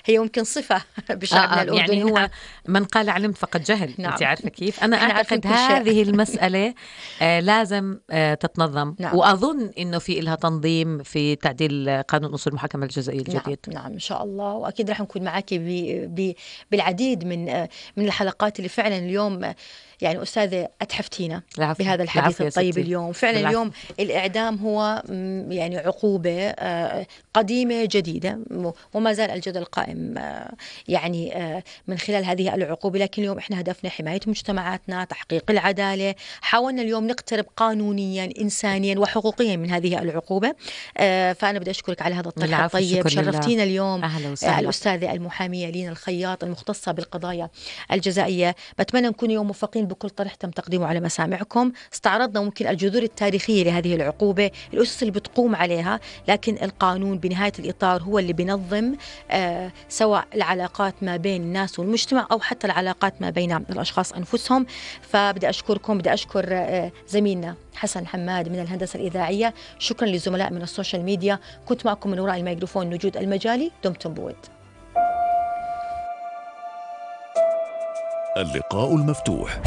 هي ممكن صفة بشعبنا الأردني. يعني هو من قال علمت فقد جهل. نعم. أنت عارفة كيف؟ أنا أعتقد هذه المسألة لازم تتنظم. نعم. وأظن إنه في إلها تنظيم في تعديل قانون أصول المحاكمة الجزائية الجديد. نعم إن شاء الله، وأكيد رح نكون معك بالعديد من الحلقات اللي فعلا اليوم يعني أستاذة أتحفتينا بهذا الحديث الطيب اليوم. فعلا اليوم الإعدام هو يعني عقوبة قديمة جديدة، وما زال الجدل قائم يعني من خلال هذه العقوبة. لكن اليوم إحنا هدفنا حماية مجتمعاتنا، تحقيق العدالة. حاولنا اليوم نقترب قانونيا إنسانيا وحقوقيا من هذه العقوبة. فأنا بدي أشكرك على هذا الطرح الطيب. شرفتينا اليوم الأستاذة المحامية لينا الخياط المختصة بالقضايا الجزائية. بتمنى نكون يوم موفقين بكل طرح تم تقديمه على مسامعكم. استعرضنا ممكن الجذور التاريخية لهذه العقوبة، الأسس اللي بتقوم عليها، لكن القانون بنهاية الإطار هو اللي بينظم سواء العلاقات ما بين الناس والمجتمع أو حتى العلاقات ما بين الأشخاص أنفسهم. فبدي أشكركم، بدي أشكر زميلنا حسن حماد من الهندسة الإذاعية. شكرا للزملاء من السوشيال ميديا. كنت معكم من وراء الميكروفون نجود المجالي. دمتم بود. اللقاء المفتوح.